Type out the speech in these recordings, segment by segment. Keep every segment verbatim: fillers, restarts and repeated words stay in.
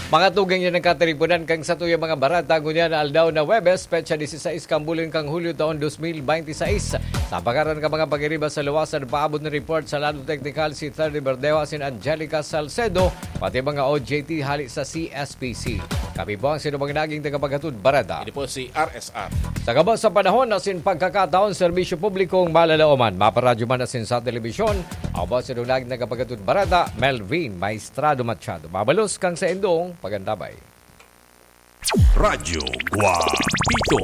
Mga tugang, yan ang katiriponan kan satuyang mga bareta ngunyan na aldaw na Huwebes, petsa disisais kan bulan kan Hulyo taon dos mil bente seis. Sa pagkaran kan mga pagiriba sa luwas, an paabot na report sa Lado Teknikal si Thirdy Berdewa asin Angelica Salcedo, pati mga O J T hali sa C S P C. Kami po ang sinumang naging tagapaghatod bareta. Ini po si R S R. Sa gabos sa panahon asin pagkakataon, serbisyo publikong malalaoman, maparadyo man asin sa telebisyon, ako po ang sinumang naging tagapaghatod bareta, Melvin Maestrado Machado. Mabalos kang sa indong pagandabay. Radyo Guapito.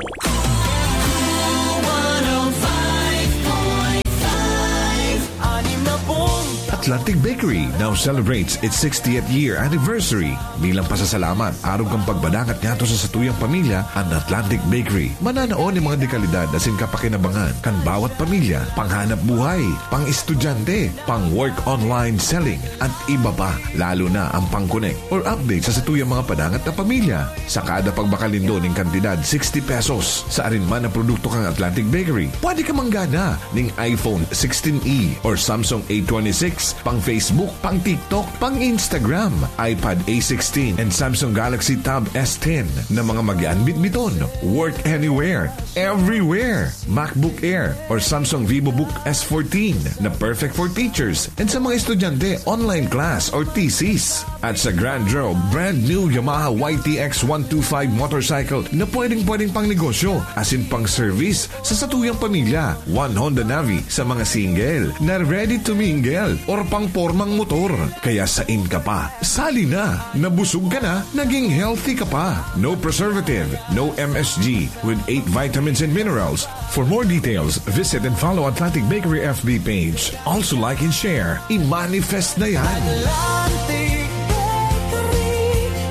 Atlantic Bakery now celebrates its sixtieth year anniversary. Bilang pasasalamat, arog kan pagpadangat ngadto sa satuyang pamilya, an Atlantic Bakery mananaon nin mga dekalidad asin kapakinabangan kan bawat pamilya, panghanap buhay, pang-estudyante, pang-work online selling, at iba pa, lalo na ang pang-connect or update sa satuyang mga padangat na pamilya. Sa kada pagbakal nindo nin kantidad sixty pesos sa arin man na produkto kan Atlantic Bakery, pwede ka manggana nin iPhone sixteen E or Samsung A twenty-six, pang Facebook, pang TikTok, pang Instagram, iPad A sixteen, and Samsung Galaxy Tab S ten na mga mag-aanbit-biton. Work anywhere, everywhere. MacBook Air or Samsung VivoBook S fourteen na perfect for teachers and sa mga estudyante, online class or thesis. At sa Grand Draw, brand new Yamaha Y T X one two five motorcycle na pwedeng-pwedeng pang negosyo asin pang service sa satuyang pamilya. One Honda Navi sa mga single na ready to mingle or pang pormang motor. Kaya sain ka pa? Sali na! Nabusog ka na, naging healthy ka pa. No preservative, no M S G, with eight vitamins and minerals. For more details, visit and follow Atlantic Bakery F B page. Also like and share. I-manifest na yan! Atlantic Bakery,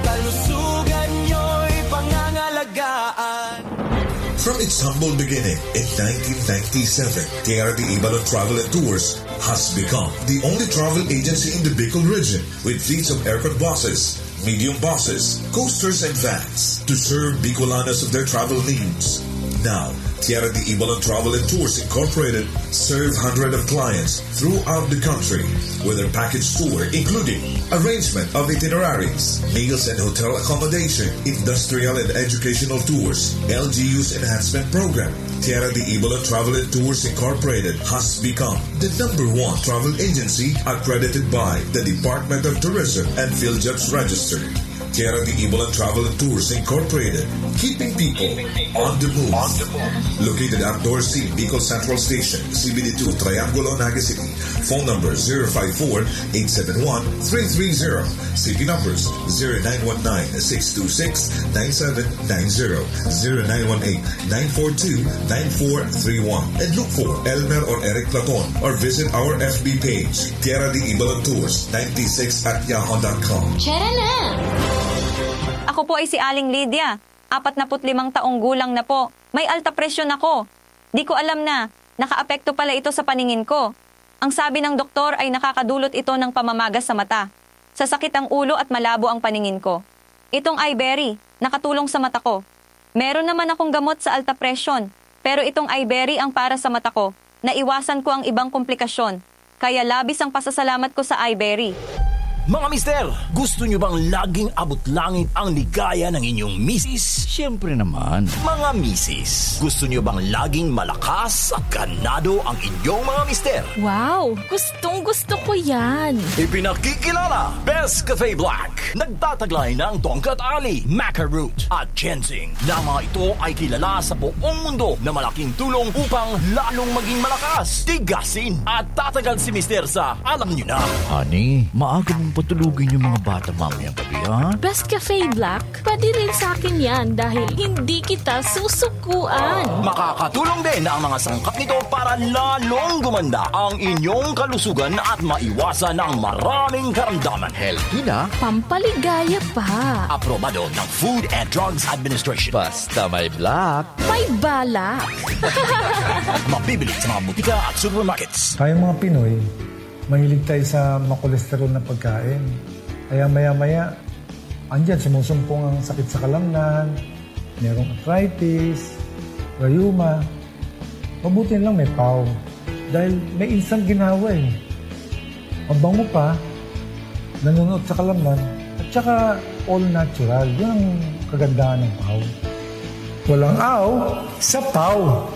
kalusugan nyo'y pangangalagaan. From its humble beginning in nineteen ninety-seven, Tierra de Ibalon Travel and Tours has become the only travel agency in the Bicol region with fleets of aircon buses, medium buses, coasters, and vans to serve Bicolanos of their travel needs. Now, Tierra de Ibalon Travel and Tours Incorporated serve hundreds of clients throughout the country with their package tour, including arrangement of itineraries, meals and hotel accommodation, industrial and educational tours, L G U's enhancement program. Tierra de Ibalon Travel and Tours Incorporated has become the number one travel agency accredited by the Department of Tourism and PhilJobs Register. Tierra de Ibalon Travel and Tours Incorporated, keeping people on the move. Located at Dorothy, Bicol Central Station, C B D two, Triangulo, Naga City. Phone number zero five four, eight seven one, three three zero. C P numbers zero nine one nine, six two six, nine seven nine zero, zero nine one eight, nine four two, nine four three one. And look for Elmer or Eric Platon or visit our F B page, Tierra de Ibalon Tours ninety-six at yahoo dot com. Tara na! Ako po ay si Aling Lydia. Apat na put limang taong gulang na po. May alta presyon ako. Di ko alam na nakaapekto pala ito sa paningin ko. Ang sabi ng doktor ay nakakadulot ito ng pamamaga sa mata, sasakit ang ulo at malabo ang paningin ko. Itong Iberry, nakatulong sa mata ko. Meron naman akong gamot sa alta presyon, pero itong Iberry ang para sa mata ko. Naiwasan ko ang ibang komplikasyon, kaya labis ang pasasalamat ko sa Iberry. Mga mister, gusto nyo bang laging abot langit ang ligaya ng inyong misis? Siyempre naman. Mga misis, gusto nyo bang laging malakas at ganado ang inyong mga mister? Wow! Gustong gusto ko yan! Ipinakikilala, Best Cafe Black. Nagtataglay ng tongkat ali, maca root, at ginseng, na mga ito ay kilala sa buong mundo na malaking tulong upang lalong maging malakas, tigasin, at tatagal si Mister sa alam nyo na. Honey, maaga mong patulugin yung mga bata mamayang gabi, ha? Best Cafe Black, pwede rin sa akin yan dahil hindi kita susukuan. Makakatulong din ang mga sangkap nito para lalong gumanda ang inyong kalusugan at maiwasan ang maraming karamdaman. Healthy na. Pampaligaya pa. Aprobado ng Food and Drugs Administration. Basta may black. May balak. Mabibili sa mga butika at supermarkets. Tayong mga Pinoy, mahilig tayo sa makolesterol na pagkain. Kaya maya-maya, andyan, sumusumpong ang sakit sa kalamnan, merong arthritis, rayuma. Mabuti na lang may pau. Dahil may insang ginawa eh. Mabango pa, nanonood sa kalamnan, At saka all natural. Yun ang kagandahan ng Pau. Walang aw sa Pau.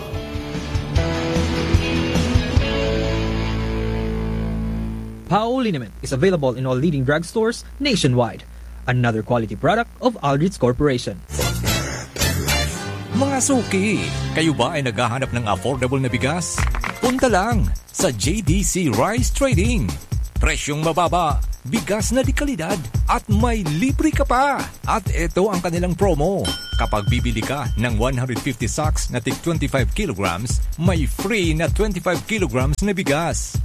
Pau liniment is available in all leading drugstores nationwide. Another quality product of Aldrich Corporation. Mga suki, kayo ba ay naghahanap ng affordable na bigas? Punta lang sa J D C Rice Trading. Presyong mababa, bigas na de kalidad, at may libre ka pa! At ito ang kanilang promo. Kapag bibili ka ng one hundred fifty sacks na tig twenty-five kilograms, may free na twenty-five kilograms na bigas.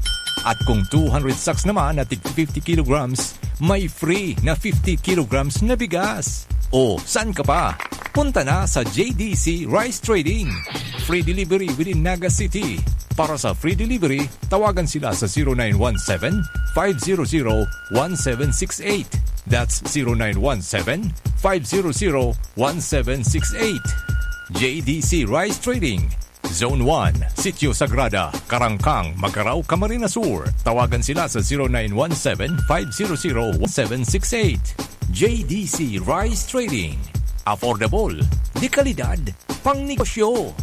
At kung two hundred sacks naman na tig fifty kilograms, may free na fifty kilograms na bigas. O, saan ka pa? Punta na sa J D C Rice Trading. Free delivery within Naga City. Para sa free delivery, tawagan sila sa zero nine one seven, five zero zero, one seven six eight. That's zero nine one seven, five zero zero, one seven six eight. J D C Rice Trading, Zone one, Sitio Sagrada, Karangkang, Magarao, Camarines Sur. Tawagan sila sa zero nine one seven, five zero zero, one seven six eight. J D C Rice Trading. Affordable, de kalidad, pangnegosyo.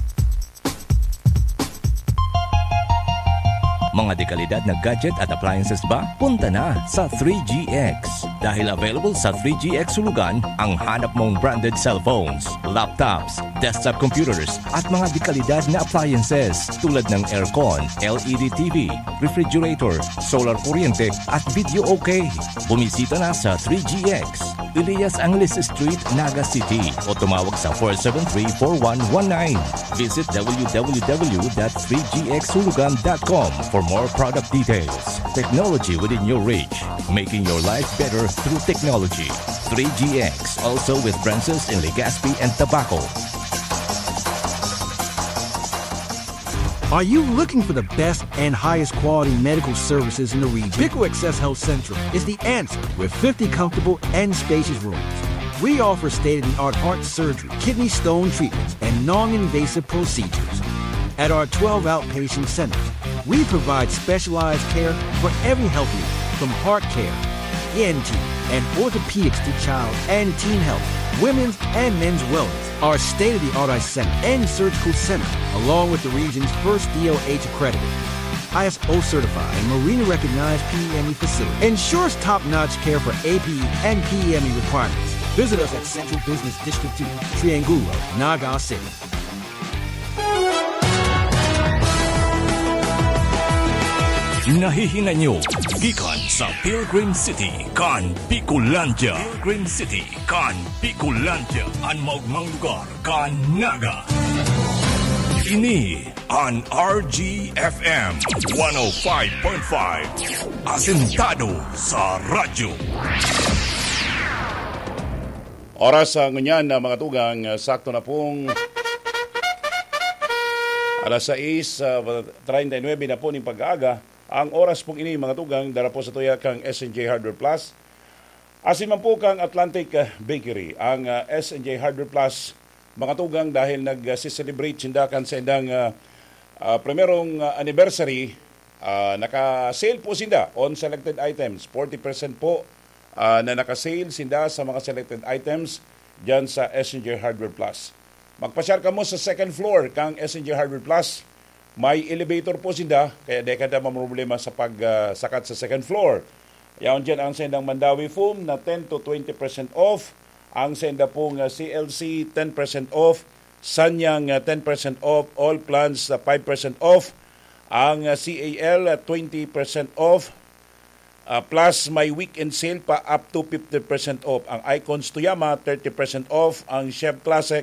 Mga dekalidad na gadget at appliances ba? Punta na sa three G X. Dahil available sa three G X Hulugan ang hanap mong branded cellphones, laptops, desktop computers, at mga dekalidad na appliances tulad ng aircon, L E D T V, refrigerator, solar kuryente, at video okay. Bumisita na sa three G X, Elias Angeles Street, Naga City, o tumawag sa four seven three, four one one nine. Visit w w w dot three g x hulugan dot com for more product details. Technology within your reach, making your life better through technology. Three G X, also with branches in Legazpi and Tabaco. Are you looking for the best and highest quality medical services in the region? Pico Access Health Central is the answer with fifty comfortable and spacious rooms. We offer state of the art heart surgery, kidney stone treatments, and non invasive procedures. At our twelve outpatient centers, we provide specialized care for every health need, from heart care, E N T, and orthopedics to child and teen health, women's and men's wellness. Our state of the art eye center and surgical center, along with the region's first D O H accredited, I S O certified, and Marina recognized P E M E facility, ensures top notch care for A P E and P E M E requirements. Visit us at Central Business District two, Triangulo, Naga City. Nahihinay nyo gikan sa Pilgrim City kan Bicolandia. Pilgrim City kan Bicolandia, an maogmang lugar kan Naga. Ini an R G F M one oh five point five, asentado sa radyo. Oras sa ngunyan na mga tugang, ah, sakto na pong alas sais, ah, treinta y nuebe na po ning pag-aaga. Ang oras pong ini, mga tugang, dara po sa tuya kang S N J Hardware Plus. Asin man po kang Atlantic, ah, Bakery, ang, ah, S N J Hardware Plus, mga tugang, dahil nag-celebrate sinda kan sa indang, ah, ah, primerong, ah, anniversary, ah, naka-sale po sinda on selected items. Forty percent po, ah, na naka-sale sinda sa mga selected items dyan sa S N J Hardware Plus. Magpasyar kamo sa second floor kang S N J Hardware Plus. May elevator po sinda, kaya di ka na mamroblema sa pag, ah, sakat sa second floor. Yaon dyan ang sendang Mandawi Foam na ten to twenty percent off. Ang senda pong, ah, C L C, ten percent off. Sanyang, ah, ten percent off. All plans, ah, five percent off. Ang, ah, C A L, ah, twenty percent off. Ah, plus may weekend sale pa up to fifty percent off. Ang Icons Tuyama, thirty percent off. Ang Chef Classic,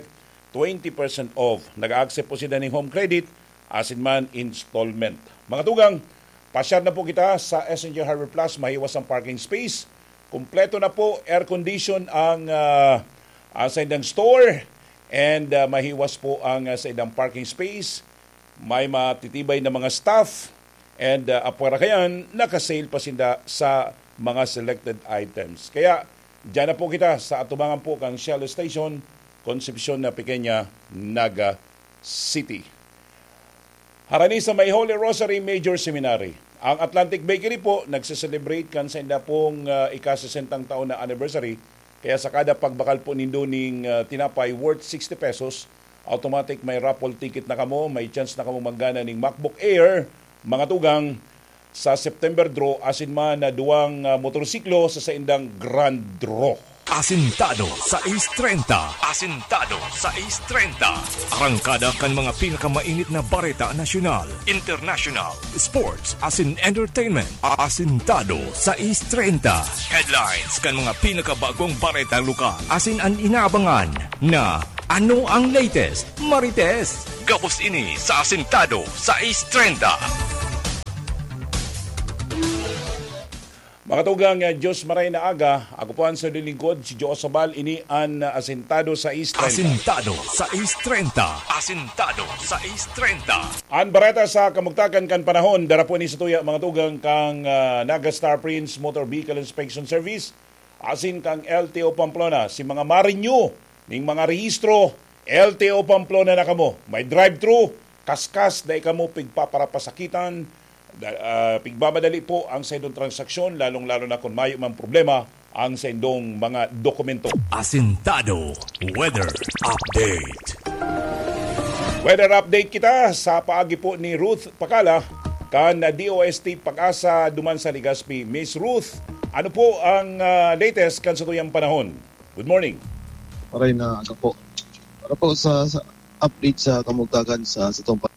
twenty percent off. Nag-accept po sila ng home credit, asin man installment. Mga tugang, pasyar na po kita sa S N J Hardware Plus, mahiwas ang parking space. Kompleto na po, air condition ang, ah, ang sa indang store, and, ah, mahiwas po ang, ah, sa indang parking space. May matitibay na mga staff, and, ah, apwera kayan, naka-sale pa sinda sa mga selected items. Kaya, diyan na po kita sa atubangan po kang Shell Station, Concepcion na Pequeña, Naga City. Harani sa may Holy Rosary Major Seminary, Ang Atlantic Bakery po nagse-celebrate kan sainda pong, ah, ika-sesentang taon na anniversary. Kaya sa kada pagbakal po nindo ning, ah, tinapay worth sixty pesos, automatic may raffle ticket na kamo, may chance na kamo manggana ning MacBook Air, mga tugang, sa September draw, asin man na duwang, ah, motorsiklo sa saindang grand draw. Asintado sais treinta. Asintado sais treinta. Arangkada kan mga pinakamainit na bareta nasyonal, international, sports, asin entertainment. Asintado sais treinta. Headlines kan mga pinakabagong bareta lokal. Asin an inaabangan na ano ang latest, Marites. Gabos ini sa Asintado sais treinta. Mga tugang, ah, Diyos maray na aga. Ako po ang sa lilingkod, si Joe Sabal. Ini an, ah, Asintado sais treinta. Asintado sais treinta. Asintado sais treinta. An bareta sa kamugtakan kan panahon, dara po ni sa tuya, mga tugang, kang, ah, Naga Star Prince Motor Vehicle Inspection Service, asin kang L T O Pamplona, si mga ma-renew ning mga rehistro, L T O Pamplona na kamo. May drive-thru, kaskas, dai kamo pigpaparapasakitan, da-, ah, pigmamadali po ang saindong transaksyon, lalong-lalo na kung mayo mang problema ang saindong mga dokumento. Asintado Weather Update. Weather update kita sa paagi po ni Ruth Pakala kan D O S T Pag-asa duman sa Legazpi. Miss Ruth, ano po ang, ah, latest kan sa tuyang panahon? Good morning. Maray na aga po. Para po sa, sa update sa kamugtakan sa, sa tong pa-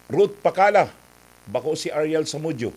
Ruth Pakala, bako si Ariel Samudio.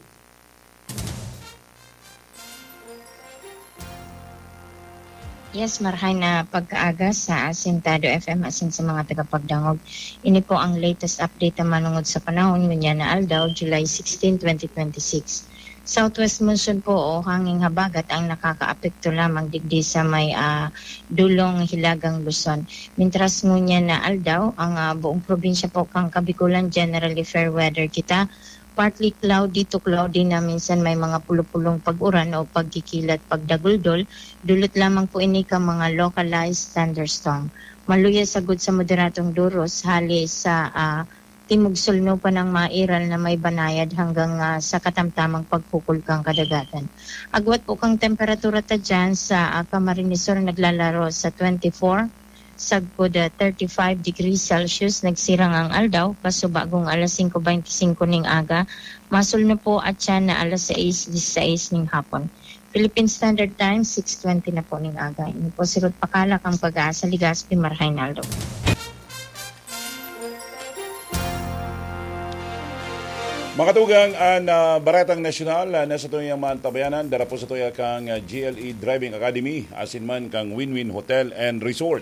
Yes, marhay na pagkaaga sa Asintado F M asin sa mga tagapagdangog. Ini po ang latest update na manungod sa panahon ngunyan na aldaw, July sixteen, twenty twenty-six. Southwest monsoon po o hanging habagat ang nakakaapekto lamang digdi sa may, ah, dulong hilagang Luzon. Mintras ngunyan na aldaw, ang, ah, buong probinsya po kan Kabikulan generally fair weather kita. Partly cloudy to cloudy na minsan may mga pulupulong pag-uran o pagkikilat, pagdaguldol. Dulot lamang po ini kan mga localized thunderstorm. Maluya sagod sa moderadong duros hali sa, ah, timog-sulno pa ng mairal na may banayad hanggang, ah, sa katamtamang pagkukul kan kadagatan. Agwat po kang temperatura ta dyan sa, ah, Camarines Sur naglalaro sa twenty-four, sagkod, ah, thirty-five degrees Celsius. Nagsirang ang aldaw, kaso bagong alas singko beinti singko ning aga, masulno po at siya na alas sais disisais ning hapon. Philippine Standard Time, six twenty na po ning aga. Ini po si Ruth Pakala kan Pag-asa, Legazpi, Marhay na aldaw. Mga tugang, an, ah, Baretang Nasyonal, ah, na sa tuyang mantabayanan, dara po sa tuya kang, ah, G L E Driving Academy, asin man kang Win-Win Hotel and Resort.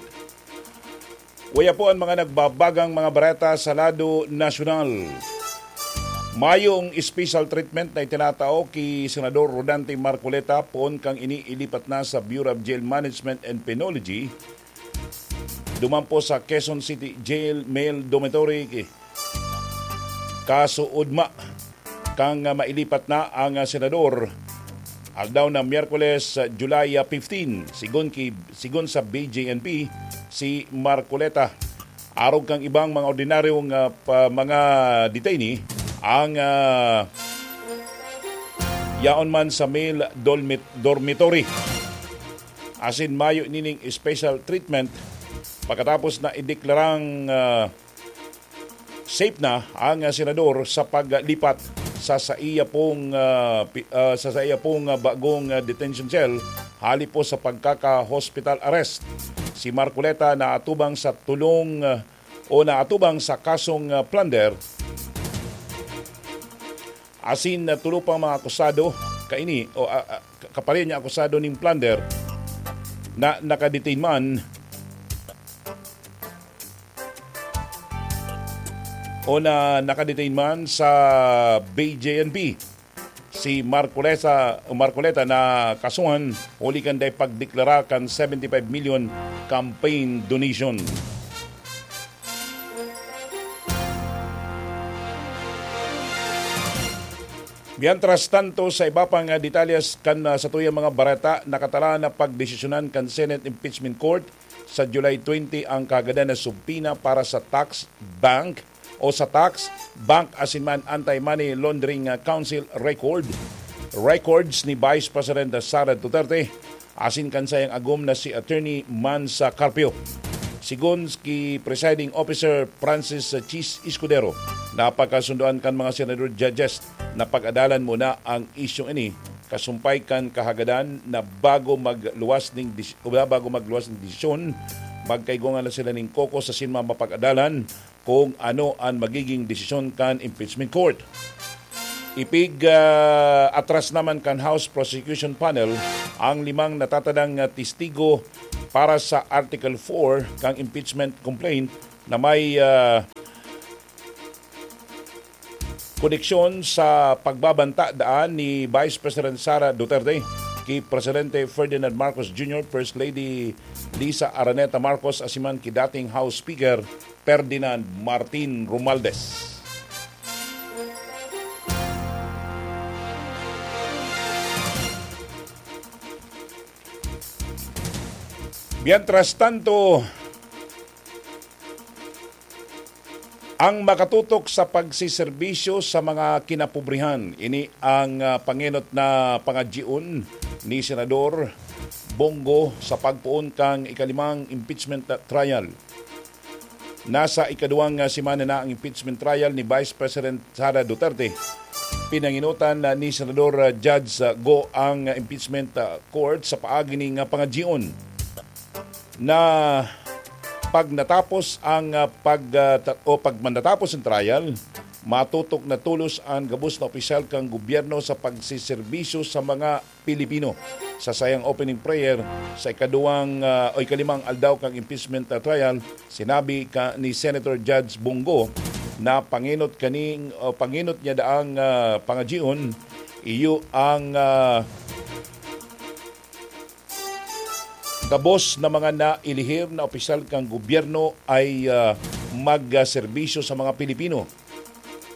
Uya po an mga nagbabagang mga bareta sa lado nasyonal. Mayong special treatment na itinatao ki Senador Rodante Marcoleta poon kang ini ilipat na sa Bureau of Jail Management and Penology, duman po sa Quezon City Jail Male Dormitory ki-, kaso ugma kang, ah, mailipat na ang, ah, senador. Aldaw na Miyerkules, ah, July, ah, fifteen, sigon ki, sigon sa B J N P, si Marcoleta. Arog kang ibang mga ordinaryong, ah, pa, mga detainee, ang, ah, yaon man sa male dormit-, dormitory. Asin mayo nining special treatment pagkatapos na ideklarang, ah, safe na ang, ah, senador sa paglipat sa saiya pong, ah, pi-, ah, sa saiya pong, ah, bagong, ah, detention cell hali po sa pagkaka-hospital arrest. Si Marcoleta naatubang sa tulong, ah, o naatubang sa kasong, ah, plunder. Asin, ah, tulo pang mga akusado kaini o, ah, ah, ka-, kapareho niya akusado ning plunder na nakadetain man o na nakadetain man sa B J N P. Si Marcoleta, Marcoleta na kasuhan huli kan dai pagdeklara kan seventy-five million campaign donation. Mientras tanto, sa iba pang, ah, detalyes kan, ah, satuyang mga bareta, nakatalaan na pagdesisyonan kan Senate Impeachment Court sa July twenty ang kagadan na subpoena para sa tax, bank, o sa Tax, Bank asin man Anti-Money Laundering, ah, Council record, records ni Vice President Sara Duterte asin kan sayang agom na si Attorney Mansa Carpio. Sigon ki Presiding Officer Francis Chis Escudero, napagkasundoan kan mga senador judges na pag-adalan muna ang isyung ini, kasumpay kan kahagadan na bago magluwas ning dis-, o bago magluwas ning desisyon, magkaigwa na sila ning kokos asin mapag-adalan kung ano an magiging desisyon kan impeachment court. Ipig, ah, atras naman kan House Prosecution Panel ang limang natatadang, ah, testigo para sa Article four kan impeachment complaint na may, ah, koneksyon sa pagbabanta daan ni Vice President Sara Duterte ki Presidente Ferdinand Marcos Junior, First Lady Liza Araneta Marcos, asin man ki dating House Speaker Ferdinand Martin Romualdez. Mientras tanto, ang makatutok sa pagsiserbisyo sa mga kinapobrehan, ini ang, ah, pangenot na pangadyion ni Senador Bong Go sa pagpoon kan ikalimang impeachment trial. Nasa ikaduwang, ah, semana na ang impeachment trial ni Vice President Sara Duterte. Pinangenotan na ni Senador, ah, Judge, ah, Go ang, ah, impeachment, ah, court sa paagi ning, ah, pangadyion na pag natapos ang, ah, pag, ah, ta-, o pag manatapos ang trial, matutok na tolos ang gabos na opisyal kan gobyerno sa pagsiserbisyo sa mga Pilipino. Sa sayang opening prayer sa ikaduwang, ah, o ikalimang aldaw kan impeachment, ah, trial, sinabi ka ni Senator Judge Bong Go na pangenot kaning, o pangenot niya daang, ah, pangadyion, iyo ang, ah, gabos na mga nailihir na opisyal kan gobyerno ay, ah, magserbisyo sa mga Pilipino.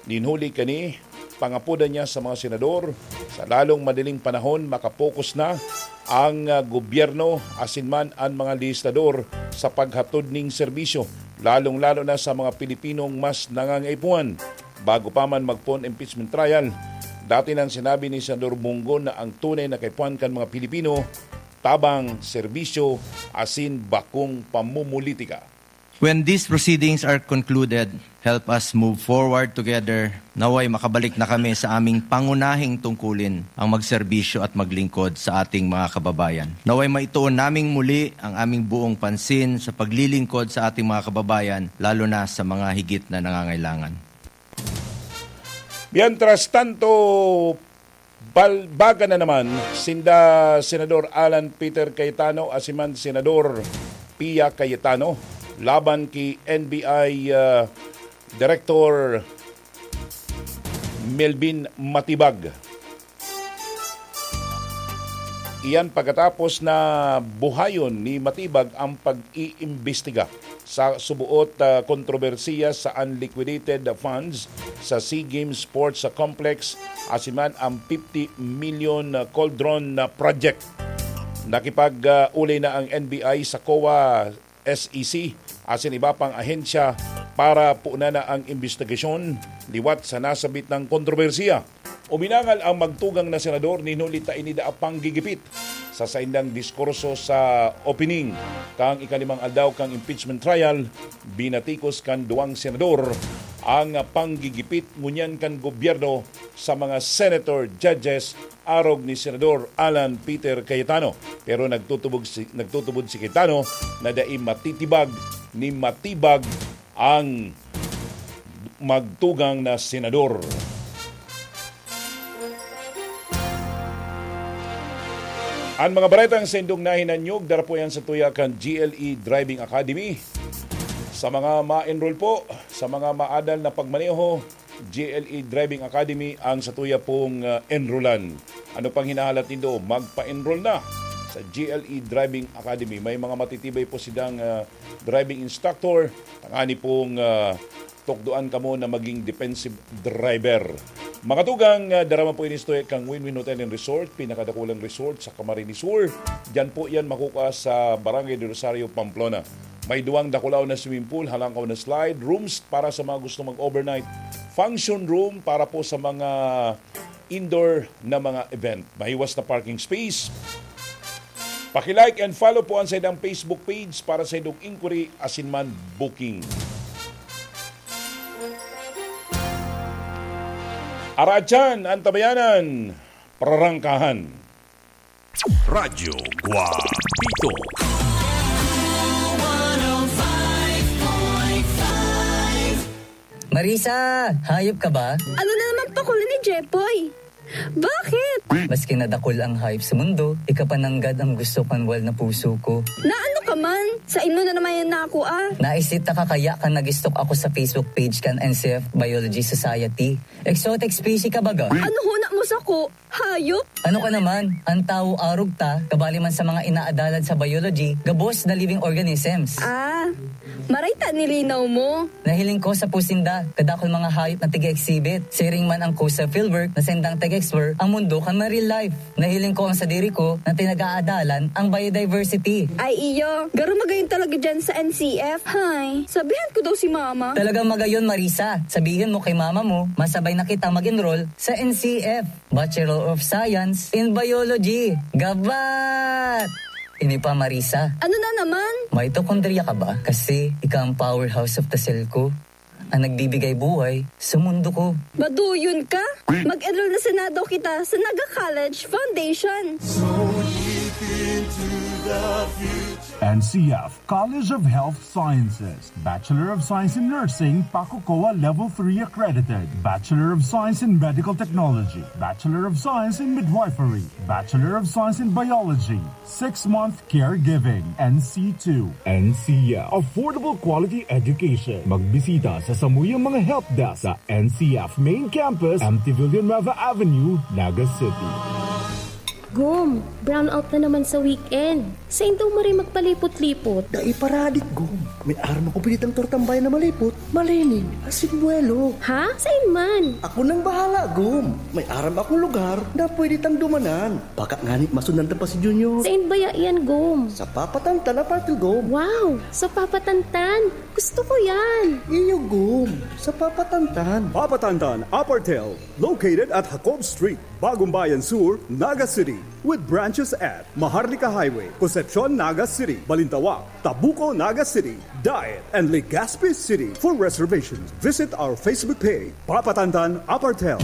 Nin huli kani, pangapodan niya sa mga senador, sa lalong madaling panahon, makapokus na ang, ah, gobyerno asin man an mga legislador sa paghatod ning serbisyo, lalong-lalo na sa mga Pilipinong mas nangangaipuhan. Bago pa man magpoon impeachment trial, dati nang sinabi ni Senador Bong Go na ang tunay na kaipuhan kan mga Pilipino, tabang, serbisyo, asin bakong pamumulitika. When these proceedings are concluded, help us move forward together. Naway makabalik na kami sa aming pangunahing tungkulin, ang magserbisyo at maglingkod sa ating mga kababayan. Naway maituon naming muli ang aming buong pansin sa paglilingkod sa ating mga kababayan, lalo na sa mga higit na nangangailangan. Mientras tanto, balbaga na naman sinda Senador Alan Peter Cayetano asin man Senador Pia Cayetano laban ki N B I, ah, Director Melvin Matibag. Iyan pagkatapos na buhayon ni Matibag ang pag-iimbestiga sa suboot, ah, kontrobersiya sa unliquidated funds sa SEA Games Sports Complex, asin man ang fifty million cauldron na project. Nakipag, ah, ulay na ang N B I sa COA, S E C, asin iba pang ahensya para punan na ang imbestigasyon liwat sa nasabit na kontrobersiya. Uminangal ang magtugang na senador nin huli ta ini daa panggigipit. Sa saindang diskurso sa opening kan ikalimang aldaw kan impeachment trial, binatikos kan duwang senador ang panggigipit ngunyan kan gobyerno sa mga senator, judges, arog ni Senador Alan Peter Cayetano. Pero nagtutubog si, nagtutubod si Cayetano na dai matitibag ni Matibag ang magtugang na senador. Ang mga baretang saindong nahinanyog, dara po yan sa tuya kan G L E Driving Academy. Sa mga ma-enroll po, sa mga maadal na pagmaneho, G L E Driving Academy ang satuya pong, ah, enrollan. Ano pang hinahalat nindo? Magpa-enroll na sa G L E Driving Academy. May mga matitibay po sidang, ah, driving instructor. Tangani pong, ah, tukdoan kamo na maging defensive driver. Mga tugang, ah, darama po ini sa tuya kang Win-Win Hotel and Resort, pinakadakulang resort sa Camarines Sur. Diyan po yan makukuha sa Barangay de Rosario, Pamplona. May duwang dakulaw na swimming pool, halangkaw na slide, rooms para sa mga gustong mag-overnight, function room para po sa mga indoor na mga event. Mahiwas na parking space. Paki-like and follow po ang saindang Facebook page para sa indong inquiry asin man booking. Aratyan, Antabayanan, Prarangkahan. Radyo Guapito. Marisa, hayop ka ba? Ano na naman pakuli ni Jepoy? Bakit? Maski nadakul ang hayop sa mundo, ika pa nanggad ang gusto kan wal na puso ko. Na ano ka man? Sa imo na naman yan na ako ah. Naisita ka kaya ka nag-stalk ako sa Facebook page kan N C F Biology Society. Exotic species ka baga? Ano huna mo sa ko? Hayop? Ano ka naman? Ang tawo arog ta, kabali man sa mga inaadalan sa biology, gabos na living organisms. Ah, maray ta nilinaw mo. Nahiling ko sa pusinda, kadakol mga hayop na tiga-exhibit. Siring man ang ko sa fieldwork na sendang tag-explore ang mundo kan real life. Nahiling ko ang sadiri ko na tinag-aadalan ang biodiversity. Ay iyo, garo magayon talaga dyan sa N C F. Hay, sabihan ko daw si mama. Talagang magayon, Marisa. Sabihin mo kay mama mo, masabay na kita mag-enroll sa N C F, Bachelor of Science in Biology. Gabat! Ini pa, Marisa. Ano na naman? Mitochondria ka ba? Kasi ika ang powerhouse of the cell ko. Ang nagbibigay buhay sa mundo ko. Maduyon ka? Mag-enroll na sana daw kita sa Naga College Foundation. N C F College of Health Sciences, Bachelor of Science in Nursing, PACOCOA Level three accredited, Bachelor of Science in Medical Technology, Bachelor of Science in Midwifery, Bachelor of Science in Biology, six-month Caregiving, N C two. N C F. Affordable quality education. Magbisita sa samuyang mga help desk sa N C F Main Campus, M T Villanueva Avenue, Naga City. Gom, brownout na naman sa weekend. Sain daw maray magpalipot-lipot? Dai paradik, Gom. May aram ako pinitang tortang bayan na malipot, malinig, asin buwelo. Ha? Sain man? Ako nang bahala, Gom. May aram akong lugar na pwede tang dumanan. Baka ngani masundan ta pa si Junior. Sain baya iyan, Gom? Sa Papa Tantan Apartel, Gom. Wow! Sa Papa Tantan! Gusto ko yan! Iyo, Gom. Sa Papa Tantan. Papa Tantan Apartel, located at Jacob Street, Bagong Bayan Sur, Naga City. With branches at Maharlika Highway, Concepcion, Naga City, Balintawak, Tabuco, Naga City, Daet, and Legazpi City. For reservations, visit our Facebook page, Papa Tantan Apartel.